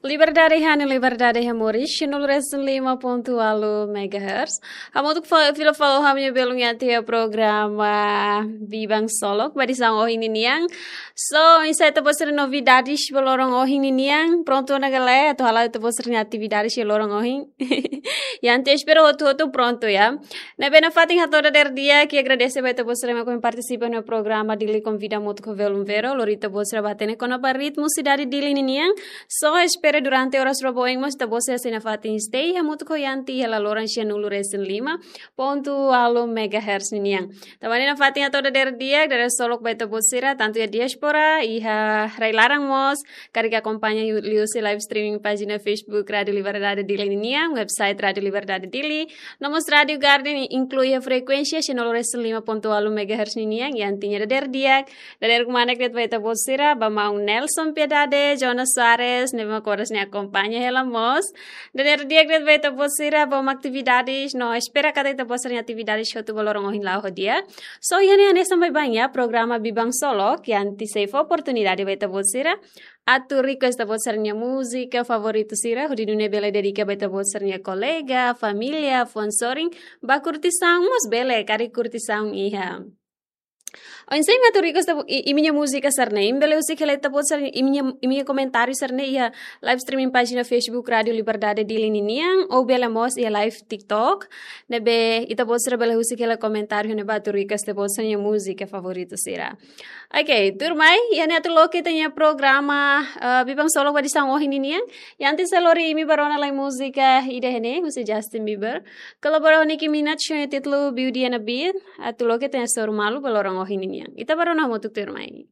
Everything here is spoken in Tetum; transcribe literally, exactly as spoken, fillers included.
Liberdade iha ne'e, liberdade iha moris, cento e cinco ponto oito megahertz. Hamutuk fa-, fila fali ho ha'u-nia belun iha tiha programa Biban Solok, ba edisaun ohin ninian. So, oinsá ita-boot sira-nia novidades ba loron ohin ninian, prontu ona ka lae, atu hala'o ita-boot sira-nia atividades iha loron ohin. Iha ne'e espera hotu-hotu prontu, ya. Ne'ebé nafatin hato'o dadeer di'ak, ha'u agradese ba ita-boot sira mak ohin partisipa iha programa Dili Konvida hamutuk ho Velun Vero, lori ita-boot sira ba hatene kona-ba ritmu sidade Dili ninian. So, espera durante oras rua ba oin mós ita-boot sira sei nafatin stay hamutuk ho Yanti iha laloran cento e cinco ponto oito megahertz ninian. Tanba ne'e nafatin hato'o dadeer di'ak, dadeer solok ba ita-boot sira, tantu iha diáspora, iha rai-laran mós, karik akompaña liu-, liuhusi live streaming pájina Facebook Rádio Liberdade Dili ninian, website Rádio Liberdade Dili, no mós Rádio Garden, inklui iha frekuénsia cento e cinco ponto oito megahertz ninian, Yanti nia dadeer di'ak, dadeer kmanek de'it ba ita-boot sira, ba maun Nelson Piedade, Jonas Soares, ne'ebé mak oras ne'e akompaña hela mós. Dadeer di'ak de'it ba ita-boot sira, ba atividades, no espera katak ita-boot sira-nia atividades hotu ba loron ohin la'o ho di'ak. So, iha ne'e hanesan baibain, ya, programa Biban Solok, Yanti sei fó oportunidade ba ita-boot sira atu request ita-boot sira-nia múzika favoritu sira, hodi nune'e bele dedika ba ita-boot sira-nia kolega, família, fuan-sorin, ba kurtisaun mós bele, karik kurtisaun iha. Oinsá imi atu request ita-bo-, i-, imi-nia múzika sira-ne'e, imi bele husik hela ita-boot sira, imi-nia, imi-nia komentáriu sira-ne'e iha live streaming pájina Facebook Rádio Liberdade Dili ninian, ou bele mós iha live TikTok, ne'ebé ita-boot sira bele husik hela komentáriu ne'ebá atu request ita-boot sira-nia múzika favoritu sira. Oke, tuirmai, iha ne'e atu loke ita-nia programa, eh, Biban Solok ba edisaun ohin ninian. Yanti sei lori imi ba rona lai múzika ida ne'e, husi Justin Bieber. Kolabora ho Nicki Minaj, ho nia títulu Beauty and a Beat, atu loke ita-nia soru malu ba loron ohin ninian. Ita ba rona hamutuk tuirmai.